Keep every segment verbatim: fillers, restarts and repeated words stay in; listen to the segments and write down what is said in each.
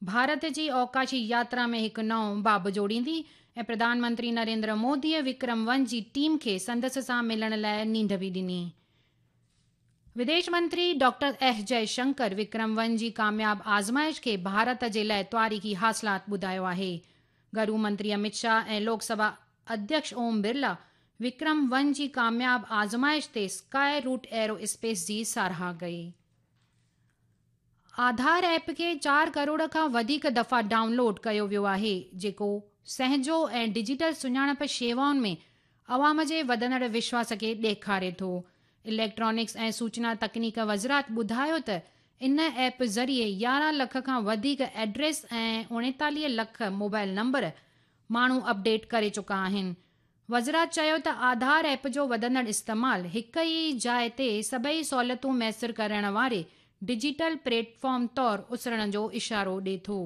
ڀارت جي اوڪاشي ياترا ۾ هڪ نئون باب جوڙيندي ۽ پرڌان منتري نريندر موديء وڪرم ون جي ٽيم کي سندس سان ملڻ لاءِ نينڍ به ڏني. وديش منتري ڊاڪٽر ايس جئي شنڪر وڪرم ون جي ڪامياب آزمائش کي ڀارت جي لاءِ تاريخي حاصلات ٻڌايو آهي. گهرو منتري امت شاهه ۽ لوڪ سڀا اڌيڪش اوم برلا وڪرم ون جي ڪامياب آزمائش تي اسڪائي روٽ ايرو اسپيس جي ساراهه ڪئي. آڌار ايپ کي چار ڪروڙ کان وڌيڪ دفعا ڊائون لوڊ ڪيو ويو آهي، جيڪو سهنجو ۽ ڊجيٽل سڃاڻپ شيوائن ۾ عوام جي وڌندڙ وشواس کي ڏيکاري ٿو. اليڪٽرانڪس ۽ سوچنا تڪنيڪ وزارت ٻڌايو ته ان ايپ ذريعي يارهن لک کان وڌيڪ ايڊريس ۽ اوڻيتاليهه لک موبائل نمبر ماڻهو اپڊيٽ ڪري چڪا آهن. وزارت چيو ته آڌار ايپ جو وڌندڙ استعمال هڪ ئي جاءِ تي سڀئي سهولتون ميسر ڪرڻ واري ڊجيٽل پليٽ فارم طور اسرڻ جو اشارو ڏئي ٿو.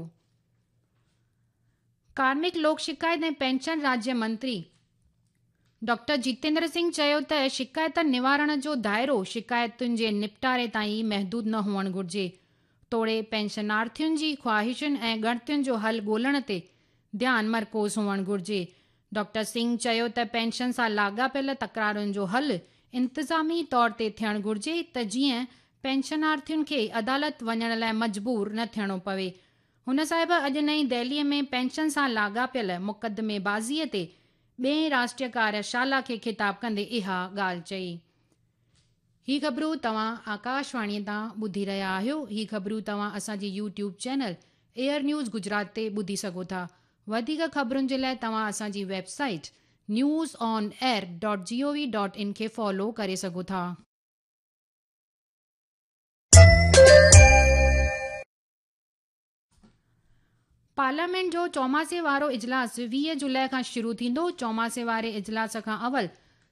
ڪارمڪ لوڪ شڪايت ۽ پينشن راجيه منتري ڊاڪٽر جتيندر سنگهه چيو ته شڪايتن نوارڻ جو دائرو شڪايتن جي نپٽاري تائين ئي محدود نه هئڻ گهرجي، توڙي پينشنارٿين جي خواهشن ۽ ڳڻتين جو حل ڳولڻ تي ڌيان مرڪوز هئڻ گهرجي. ڊاڪٽر سنگهه چيو ته پينشن سان لاڳاپيل تڪرارن جو حل انتظامي طور تي ٿيڻ گهرجي ته جيئن پينشنارٿين کي عدالت وڃڻ لاءِ مجبور نه ٿيڻو پوي. هن صاحب اڄ نئين دهليءَ ۾ پينشن سان لاڳاپيل مقدمي بازيءَ تي ٻئين راشٽريه ڪاريشالا کي خطاب ڪندي اها ڳالهه چئي. هي خبرون توهان آڪاشواڻيءَ تان ٻڌي رهيا آهيو. هي خبرون توهان اسان جي YouTube channel air news Gujarat تي ٻڌي سگهو ٿا. وڌيڪ خبرن جي لاءِ توهان اسان جي website news on air dot G O V dot in کي فالو ڪري سگهو ٿا. پارليامينٽ جو چوماسي وارو اجلاس ويهه جولاءِ کان شروع ٿيندو. چوماسي واري اجلاس کان اول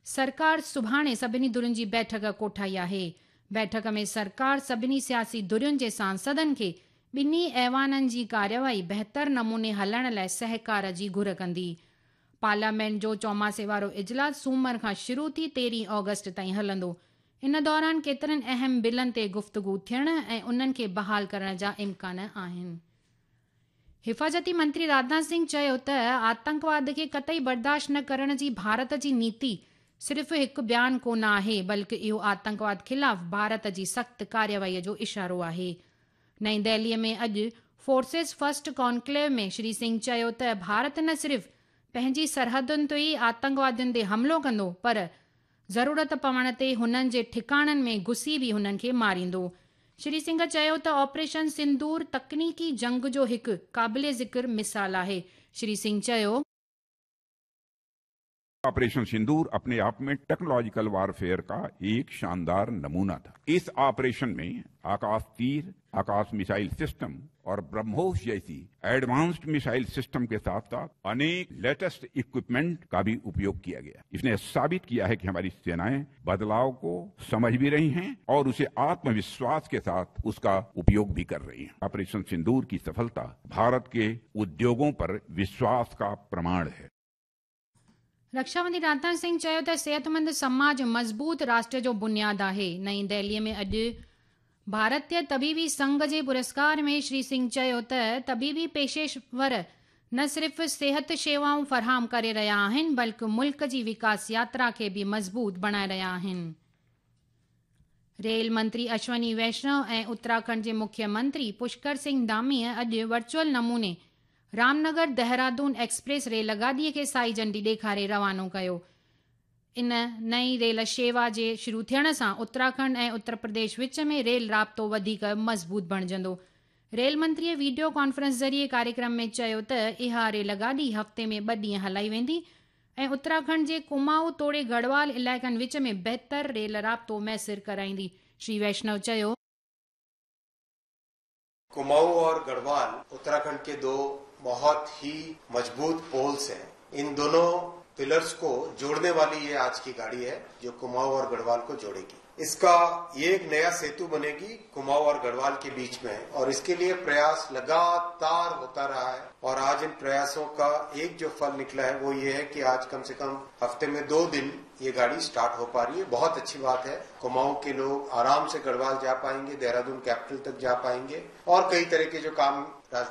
سرڪار سڀاڻي سڀني ڌرين جي بيٺڪ ڪوٺائي آهي. بيٺڪ ۾ سرڪار سڀني سياسي ڌرين جي سانسدن کي ٻنهي ايوانن جي ڪاريواهي بهتر نموني هلائڻ لاءِ سهڪار جي گهر ڪندي. پارليامينٽ جو چوماسي وارو اجلاس سومر کان شروع ٿي تيرهين آگسٽ تائين هلندو. ان دوران ڪيترن اهم بلن تي گفتگو ٿيڻ ۽ انهن کي بحال ڪرڻ جا امڪان آهن. حفاظتي منتري راجناٿ سنگهه چيو ته آتنڪواد کي قطعي برداشت نه ڪرڻ جي ڀارت جي نيتي صرف هڪ بيان ڪونه آهي، بلڪه اهو آتنڪواد خلاف ڀارت جي سخت ڪاريواهيءَ جو اشارو آهي. نئين دهليءَ ۾ اڄ فورسز فرسٽ ڪانڪليو ۾ شري سنگهه چيو ته ڀارت نه صرف پنهنجي سرحدن تي ئي آتنڪوادين تي حملو ڪندو، پر ضرورت پوڻ تي هنن جي ٺڪاڻن ۾ گهسي به هنن کي ماريندو. شري سنگهه چيو ته آپريشن سندور تڪنيڪي جنگ جو هڪ قابل ذڪر مثال آهي. شري سنگهه چيو، ऑपरेशन सिंदूर अपने आप में टेक्नोलॉजिकल वारफेयर का एक शानदार नमूना था। इस ऑपरेशन में आकाश तीर, आकाश मिसाइल सिस्टम और ब्रह्मोस जैसी एडवांस्ड मिसाइल सिस्टम के साथ साथ अनेक लेटेस्ट इक्विपमेंट का भी उपयोग किया गया। इसने साबित किया है कि हमारी सेनाएं बदलाव को समझ भी रही हैं और उसे आत्मविश्वास के साथ उसका उपयोग भी कर रही हैं। ऑपरेशन सिंदूर की सफलता भारत के उद्योगों पर विश्वास का प्रमाण है। रक्षा मंत्री राजनाथ सिंह चयो त सेहतमंद समाज मज़बूत राष्ट्र जो बुनियाद आहे। नई दिल्लीअ में अॼु भारतीय तबीबी संघ जे पुरस्कार में श्री सिंह चयो त तबीबी पेशेवर न सिर्फ़ सेहत शेवाऊं फराहम करे रहिया आहिनि, बल्कि मुल्क जी विकास यात्रा खे बि मज़बूत बणाए रहिया आहिनि। रेल मंत्री अश्वनी वैष्णव ऐं उत्तराखंड जे मुख्यमंत्री पुष्कर सिंह धामीअ अॼु वर्चुअल नमूने रामनगर देहरादून एक्सप्रेस रेल गाॾीअ खे साई झंडी ॾेखारे रवानो कयो। इन नई रेल शेवा जे शुरू थियण सां उत्तराखंड ऐं उत्तर प्रदेश विच में रेल राब्तो वधीक मज़बूत बणिजंदो। रेल मंत्रीअ वीडियो कॉन्फ्रेंस ज़रिए कार्यक्रम में चयो त इहा रेल गाॾी हफ़्ते में ॿ ॾींहं हलाई वेंदी ऐं उत्तराखंड जे कुमाऊं तोड़े गढ़वाल इलाइक़नि विच में बहितर रेल राब्तो मयसर कराईंदी। श्री वैष्णव चयो, कुमाऊं और गढ़वाल उत्तराखंड के दो बहुत ही मजबूत पोल्स हैं। इन दोनों पिलर्स को जोड़ने वाली ये आज की गाड़ी है जो कुमाऊं और गढ़वाल को जोड़ेगी। इसका ये एक नया सेतु बनेगी कुमाऊं और गढ़वाल के बीच में, और इसके लिए प्रयास लगातार होता रहा है। और आज इन प्रयासों का एक जो फल निकला है वो ये है कि आज कम से कम हफ्ते में दो दिन ये गाड़ी स्टार्ट हो पा रही है। बहुत अच्छी बात है। कुमाऊं के लोग आराम से गढ़वाल जा पाएंगे, देहरादून कैपिटल तक जा पाएंगे और कई तरह के जो काम राजधानी